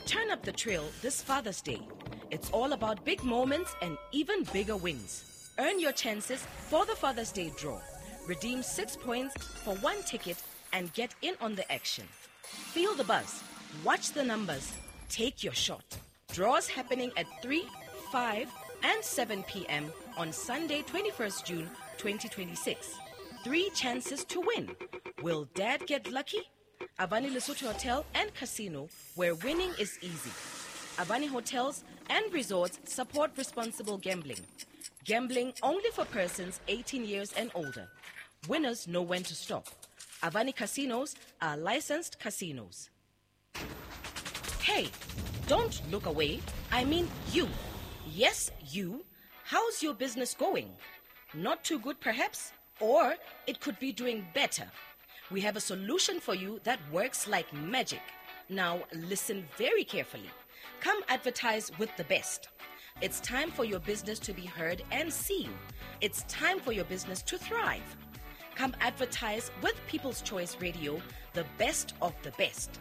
Turn up the trail this Father's Day. It's all about big moments and even bigger wins. Earn your chances for the Father's Day draw. Redeem 6 points for 1 ticket and get in on the action. Feel the buzz. Watch the numbers. Take your shot. Draws happening at 3, 5, and 7 p.m. on Sunday, 21st June 2026. 3 chances to win. Will Dad get lucky? Avani Lesotho Hotel and Casino, where winning is easy. Avani Hotels and Resorts support responsible gambling. Gambling only for persons 18 years and older. Winners know when to stop. Avani Casinos are licensed casinos. Hey, don't look away. I mean you. Yes, you. How's your business going? Not too good, perhaps? Or it could be doing better. We have a solution for you that works like magic. Now, listen very carefully. Come advertise with the best. It's time for your business to be heard and seen. It's time for your business to thrive. Come advertise with People's Choice Radio, the best of the best.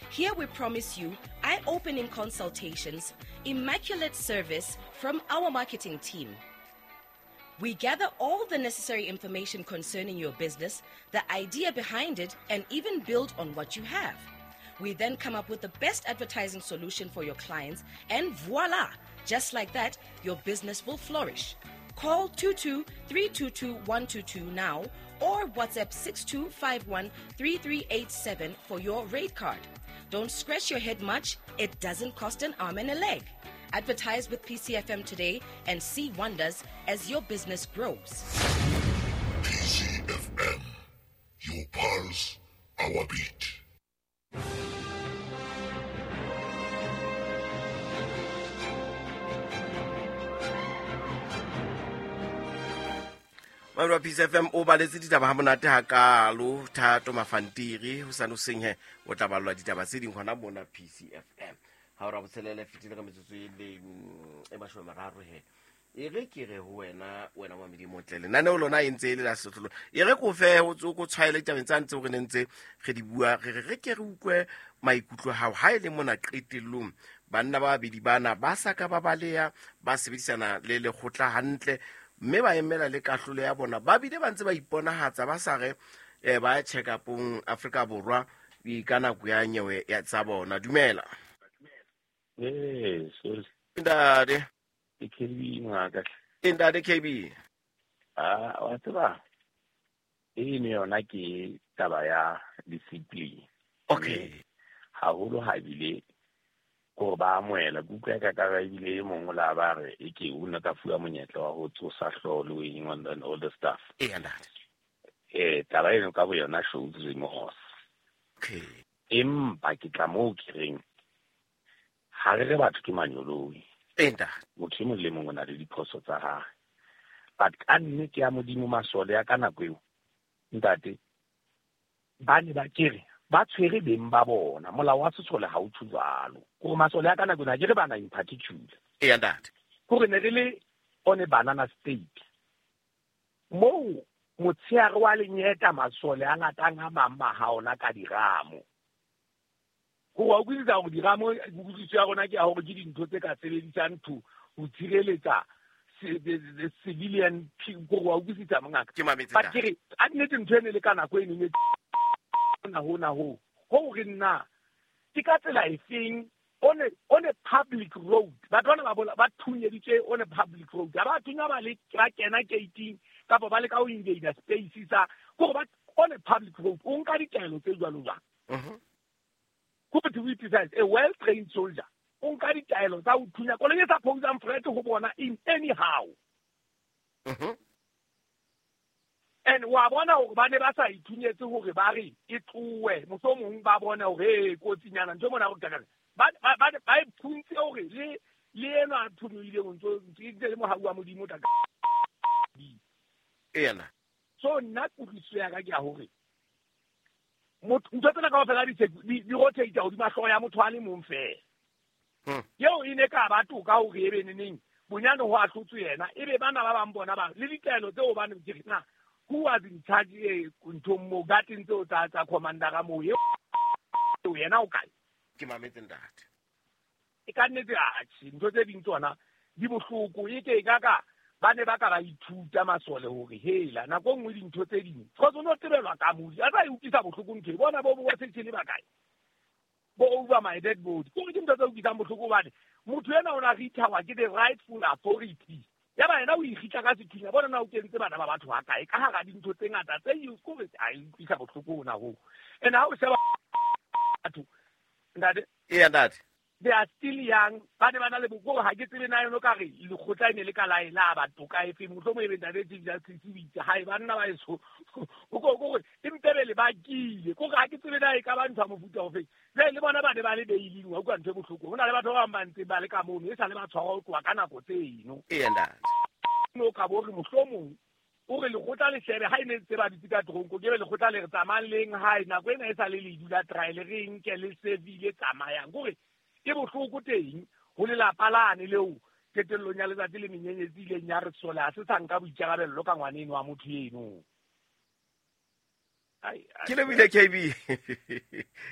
Here we promise you eye-opening consultations, immaculate service from our marketing team. We gather all the necessary information concerning your business, the idea behind it, and even build on what you have. We then come up with the best advertising solution for your clients, and voila! Just like that, your business will flourish. Call 22-322-122 now or WhatsApp 6251-3387 for your rate card. Don't scratch your head much. It doesn't cost an arm and a leg. Advertise with PCFM today and see wonders as your business grows. PCFM, your pulse, our beat. Mamelo PCFM o baletse ditaba ha monate hakalo, Thato Mafantiri ho sa no seng he o tla ballwa ditaba tse ding hona mona PCFM. Ha o ra botshelele fetile ka metsotso e le e 30 he. E re ke re ho wena wena wa Modimo tle lenaneo lona e ntse e le la Sesotho. E re ko fe ho tso ko tshwaele ditabeng tsa ntse re ne ntse re di bua, re re ke re utlwe maikutlo hao ha e le mona qetellong. Banna ba babedi bana ba sa ka ba baleha, ba sebedisana le lekgotla hantle, mme ba emela le kahlolo ya bona. Ba bile ba ntse ba iponahatsa ba sa re ba check upong Afrika Borwa ka nako ya nyewe ya tsa bona. Dumela. Sorry. Ntate. Ke KB ngaka. Ntate KB. Ah, wa tseba. E ne yona ke taba ya discipline. Okay. Haholo ha bile ko ba amohela kutlwa ka ka ebile e mongwe la ba re e ke o ne ka fuwa monyetla wa ho tsosa hlolo eng and all the stuff. E ntate. Taba eno ka bo yona shows remorse. Okay. Empa ke tla moo ke reng ha re re batho ke manyoloi. Ntate. Motho e mong le mong o na le diphoso tsa hae. But ka nnete ya Modimo masole ya ka nako eo ntate ba ne ba kere ba tshwere beng ba bona. Molao wa sesole ha o tjho jwalo. Gore masole ya ka nako ena ke re bana in particular. E ntate. Gore ne re le on a banana state. Moo motshehare wa lenyeta masole a ngatang a mang ha ona ka diramo. Gore wa utlwisisa hore diramo kutlwisiso ya rona ke ya hore ke dintho tse ka sebedisang to ho tshireletsa the civilian gore wa utlwisisa mongaka. Ke mametse. But ke re a nnete ntho ene le ka nako e neng na hona ho hore nna ke ka tsela efeng on a public road batho bana ba bola ba thunyeditswe on a public road ha ba thunya ba le ba kena gating kapa ba le ka ho invade space sa gore ba on a public road o nka ditaelo tse jwalo jwang. Go to be precise, a well trained soldier o nka ditaelo tsa ho thunya koloi e sa posang threat ho bona in anyhow. And wa bona hore ba ne ba sa ithunyetse hore ba re e tloe mohlomong ba bona hore e kotsinyana ntho mona go kakana ba ba iphuntse hore le ena a thunyile ntso ntse le mohau wa Modimo ta ena. So nna kutlwisiso ya ka ke ya hore motho ntho tsena kaofela di rotate hodima hlooho ya motho a le mong feela. Eo e ne ka ba toka hore e be neneng bonyane ho ahlotswe yena ebe bana ba bang bona ba le ditaelo tseo ba ne ke re na who was in charge nthong mo gateng tseo tsa commander moo eo yena o kae? Ke mametse ntate. E ka nnete atjhe, ntho tse ding tsona di bohloko. E ke e ka ka ba ne ba ka ba ithuta masole hore hela nako e nngwe dintho tse ding cause o no tebelwa ka modi a tsa e utlwisa bohloko ntho e bona bo bo setšhele ba kae bo over my dead body. Kore ke ntho tse utlwisang bohloko hobane motho ena o na rithawa ke the rightful authority ya ba yena o ikgitla ka sethunya bona na o kentse bana ba batho ba kae ka hara dintho tse ngata tse kore a e utlwisa bohloko hona hoo. And ha o sheba batho ntate, Eya ntate. they are still young, ba ne ba na le bokore ha ke tsebe na yona ka re lekgotla e ne le ka la e la batho ka efeng mohlomong e be ntate Chief Justice o itse hae banna ba eso o ko kore e mpebele ba kile kore ha ke tsebe na e ka ba ntho ya mofuta ofeng. Jwale le bona ba ne ba le bailing wa utlwa ntho e bohloko. Ho na le batho ba bang ba ntseng ba le ka mono e sa le ba tshwarwa ho tloha ka nako tseno. Eya ntate. No ka bo re mohlomong o re lekgotla le shebe ha e ne ntse ba dutse ka tronko ke be lekgotla le re tsamayang leng hae nako ena e sa le le dula trial re nke le servile tsamayang kore ke bohloko teng ho lelapa lane leo qetellong ya letsatsi le menyenyetsi ileng ya re sole ha se sa nka boikarabello ka ngwaneno wa motho eno. Ke lebile KB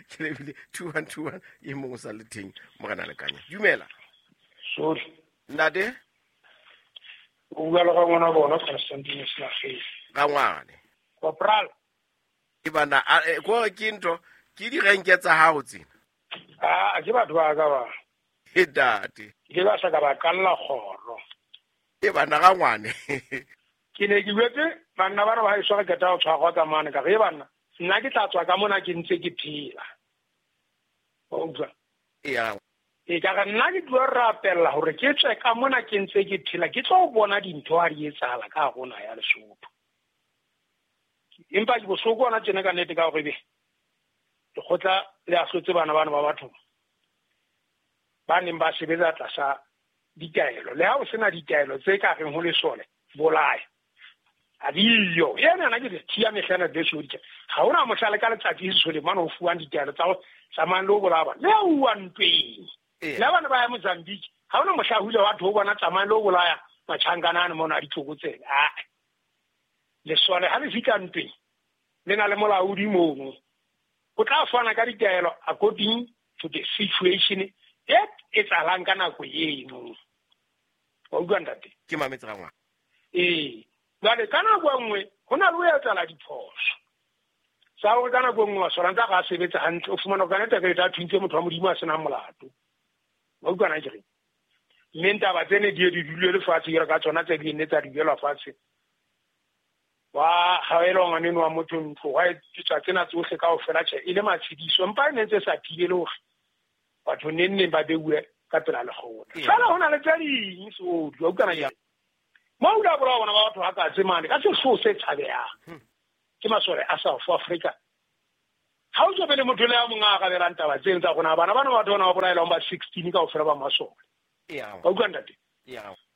ke lebile 2121 e mong o sa le teng morena Lekanya. Dumela. Sorry. Ntate. O bua le ga ngwana bona Constantine Slagele. Ga ngwane. Corporal. E bana ko ke ntho ke direnke tsa hao tsena. Ah, ke batho ba ka ba. E ntate. Ke ba sa ka ba kalla kgoro. E bana ga ngwane. Ke ne ke buetse banna ba re ba haeswa re qeta ho tshwarwa ka mane ka re banna nna ke tla tswa ka mona ke ntse ke phela. Wa utlwa? Eya. E ka re nna ke tlo rapella hore ke tswe ka mona ke ntse ke phela ke tlo bona dintho ha di etsahala ka hare ho naha ya Lesotho. Empa ke bohloko hona tjena ka nnete ka hore ebe lekgotla le ahlotse bana bana ba batho ba neng ba sebetsa tlasa ditaelo. Le ha o sena ditaelo tse ka reng ho lesole bolaya a diyo ena na ke thiya mehlana besho di ha ona mohlala ka letsatsi sesole mane o fuwang ditaelo tsa ho tsamayang le ho bolaya bana le ha uwa ntweng. Le bana ba ya Mozambique ha ona mohla hule wa tho bona tsamayang le ho bolaya matjhankana ane mona a ditlokotsebe. Ah, lesole ha le fihla ntweng le na le molaodi mono o tla fana ka ditaelo according to the situation e etsahalang ka nako eno. Wa utlwa ntate? Ke mametse ga ngwana. Ee, jwale ka nako e nngwe ho na le ho etsahala diphoso tsa hore ka nako e nngwe masole a ntse a ga a sebetsa hantle, o fumana hore ka nnete ka etsa thuntse motho wa Modimo a senang molato. Wa utlwa na ke reng? Mme ntaba tsene di ye di dule lefatshe jwalo ka tsona tse di nne tsa dulelwa fatshe. Wa haelwa ngwaneno wa motho ntlo, wa etswa tsena tsohle kaofela tjhe e le matshediso, empa e ne ntse sa thibele hore batho neng neng ba beuwe ka pela lekgotla. Fela ho na le tse ding sohle, wa utlwa na ke reng? Mo o la bolaya bona ba batho ha katse mane ka sehloho se tshabehang. Ke masole a South Africa. Ha o tswe le motho le ya mong a arabelang taba tseno tsa rona bana bana batho bona ba bolaelwang ba 16 kaofela ba masole. Wa utlwa ntate?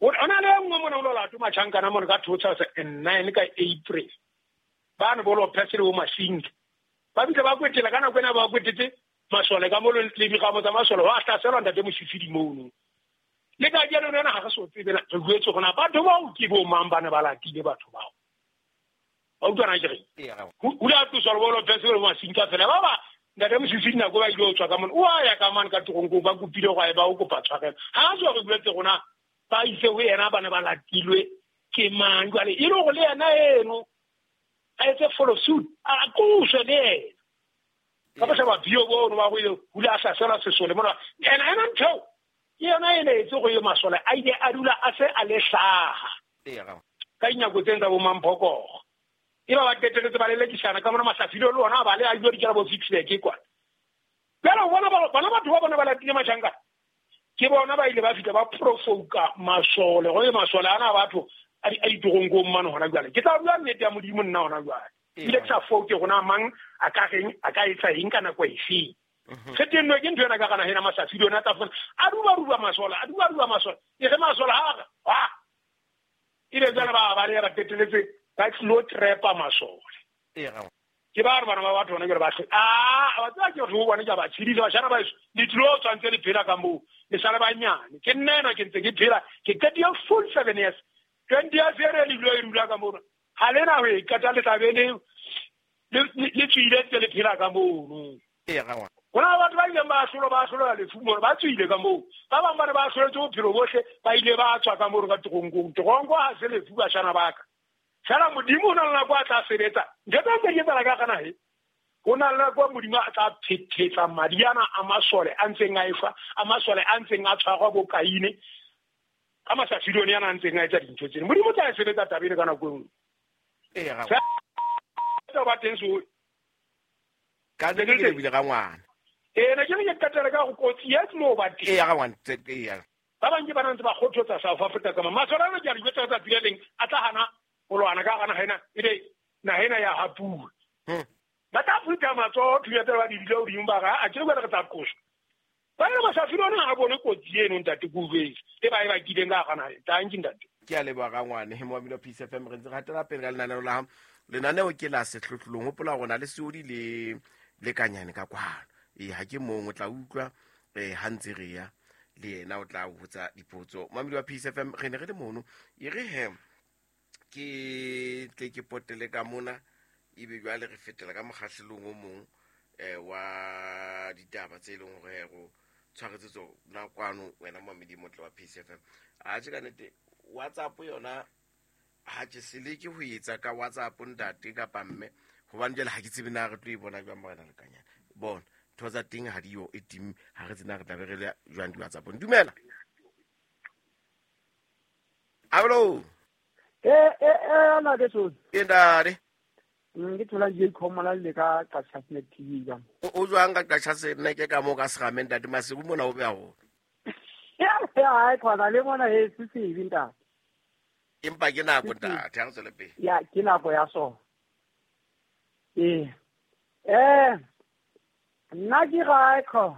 O na le e nngwe mona o lo late matjhankana mona ka 2009 ka April. Bane bo Lopez le bo Masinga. Ba bile ba kwetela ka nako ena ba kwetetse masole ka mo le megamo tsa masole wa hlaselwa ntate Mosifidi mono. Le ka jeno rena ha re so tsebe re buetse gona batho bao ke bo mang bana ba latile batho bao. Wa utlwa na ke reng? O la tloswa le bo Lopez le bo Masinga fela ba ba ntate Mosifidi nako ba ile ho tswa ka mona. O a ya ka mane ka toronkong ba kopile go ba o kopa tshwarelo. Ha a tswa re buetse gona ba itse ho yena ba ne ba latilwe ke mang jwale e le hore le yena eno a etse follow suit a qoswe le yena. Ka ba sheba bio bono ba go ile hula a hlasela sesole mona ena ena ntho ke yona e ne etse go ye masole a ile a dula a se a le hlaha ka dinako tseng tsa bo Mamphokogo e ba ba qeteletse ba lelekisana ka mona Mahlafilo le ona ba le a ile dikela bo Ficksburg kwana. Jwale o bona bana batho ba bona ba latile matjhankana ke bona ba ile ba fihla ba profoka masole go ye masole ana batho a ditoronkong mane hona jwale. Ke tla bua nnete ya Modimo nna hona jwale. Ebile ke sa foke gona mang a ka reng a ka etsa eng ka nako efe. Qetellong ke ntho ena ka kana hena Mahlafilo ona tla fona a duba masole a duba masole e re masole ha re wa ile jwale ba ba re ba qeteletse ba tlo trepa masole. Ke ba re bana ba batho bona ke re ba a ba tsaya ke re bona ke ba tshedisa bashana ba le tlo tshwantse le phela ka moo le sale ba nyane ke nna ena ke ntse ke phela ke qetile full 7 years 20 years e re le dula e dula ka moo ha le na ho e qeta le tla be le tswile ntse le phela ka mono. Ho na le batho ba ileng ba ahlolwa, ba ahlolwa lefu mona, ba tswile ka moo. Ba bang ba ne ba ahloletswe bophelo bohle, ba ile ba tswa ka moo ka teronkong. Teronko ha se lefu, bashana ba ka. Fela Modimo o na le nako a tla sebetsa. Ntho tse ntse di etsahala ka hara naha e. Ho na le nako Modimo a tla phethetsa madi ana a masole a ntseng a efa, a masole a ntseng a tshwarwa bo Kaine, ka masafidone ana a ntseng a etsa dintho tsena. Modimo o tla e sebetsa taba ena ka nako e nngwe. Fela ba teng so. Ka nnete ke lebile ga ngwana. Ee, ne ke re ke qetele ka go kotsi e tlo ba teng. Ee, ga ngwana, ee. Ba bang ke bana ntse ba kgothotsa South Africa ka masole ana ke a di jwetsa ka tsatsi le leng a tla hana ho lwana ka hara naha ena, ebe naha ena ya hapuwa. Ba tla phutha matsoho thunya tsela ba di dule hodimo ba re, a ke re re tla qoswa. Ba re masafiri ona ha bone kotsi eno ntate ke utlwetse e ba e bakileng ka hara naha. Tanki ntate. Ke a leboha ga ngwane moamedi wa Peace FM, re ntse re hatela pele ka lenaneo la lenaneo ke la sehlohlolong. Hopola hore na le seodi le le kanyane ka kwano. Ee, ha ke mong o tla utlwa ha ntse re ya le yena o tla botsa dipotso. Moamedi wa Peace FM, re ne re le mono e re he ke tle ke potele ka mona ebe jwale re fetela ka mokgahlelong o mong wa ditaba tse leng hore go tshwaretse tsona kwano wena moamedi motle wa Peace FM. Atjhe ka nnete WhatsApp yona ha ke se leke ho etsa ka WhatsApp ntate kapa mme, hobane jwale ha ke tsebe na re tlo e bona jwang morena Lekanyane. Bona ntho tsa teng ha diyo e tim, ha re tsena re tla be re le jwang di WhatsApp. Dumela. Hallo. Ana ke so. Ke ntate. Ke thola je khomola le ka Qachasenek TV jang. O jwang ka Qachasenek ka mo ka segameng ntate Masiku mona o beha ho. Ya ya khona le mona he se se ntate. Empa ke nako ntate, ha re tswele pele. Ya ke nako ya so. Nna ke ga kho.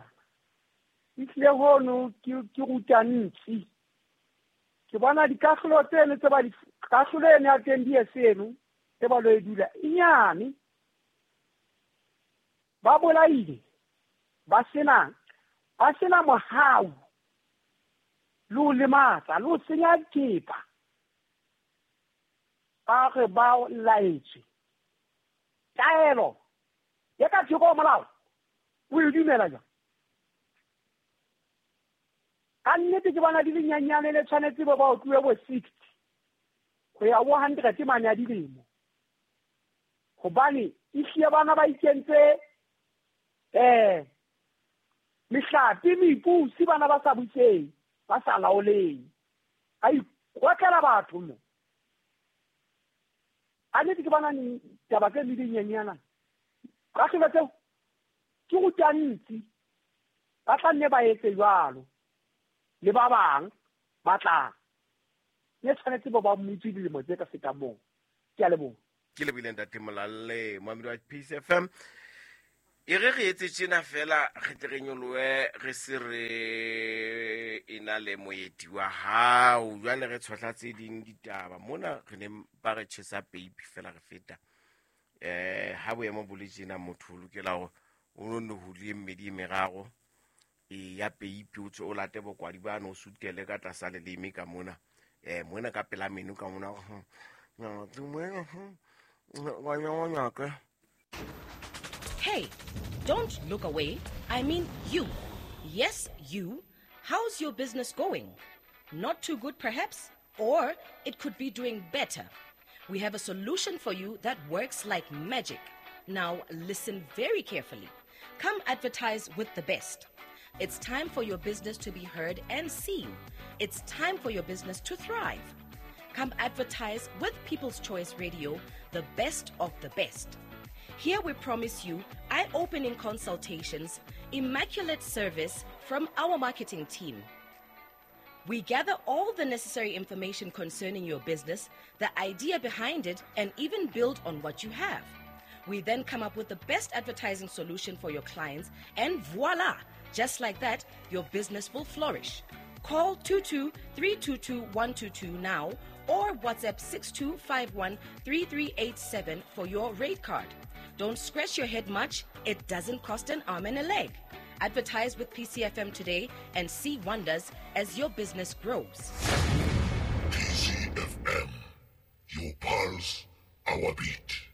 Itle hono ke ruta ntsi. Ke bona dikahlolo tseno tse ba di kahlolo ene ya teng di seno tse ba lo e dula inyane. Ba bolaile ba sena mohau le ho lematsa le ho senya thepa. Ba re ba laetswe taelo ya ka thoko molao o e dumela jang? Ka nnete ke bona di le nyenyane le tshwanetse ba ba otluwe bo 60 ho ya bo 100 mane a dilemo, hobane ehlile bana ba ikentse mehlape mepusi, bana ba sa buseng ba sa laoleng, ba ikotlela batho mo. A nnete ke bona taba tse le dinyenyana kahlolo tseo ke ruta ntsi, ba tla nne ba etse jwalo le ba bang ba tla ne tshwanetse ba ba mutse dilemo tse ka fetang moo. Ke a leboha. Ke lebohile ntate Molalle moamedi wa Peace FM. E re re etse tjena fela re tle re nyolohe re se re ena le moeti wa hao. Jwale re tshohla tse ding ditaba mona, re ne ba re tjhesa peipi fela re feta. Ha boemo bo le tjena motho o lokela hore o nne ho le mmedi e meraro ya peipi, o tswe o late bokwadi bano o sutele ka tlasa leleme ka mona. Mona ka pela meno ka mona. Hey, don't look away. I mean you. Yes, you. How's your business going? Not too good perhaps? Or it could be doing better. We have a solution for you that works like magic. Now listen very carefully. Come advertise with the best. It's time for your business to be heard and seen. It's time for your business to thrive. Come advertise with People's Choice Radio, the best of the best. Here we promise you eye-opening consultations, immaculate service from our marketing team. We gather all the necessary information concerning your business, the idea behind it, and even build on what you have. We then come up with the best advertising solution for your clients, and voila! Just like that, your business will flourish. Call 22-322-122 now or WhatsApp 6251-3387 for your rate card. Don't scratch your head much. It doesn't cost an arm and a leg. Advertise with PCFM today and see wonders as your business grows. PCFM, your pulse, our beat.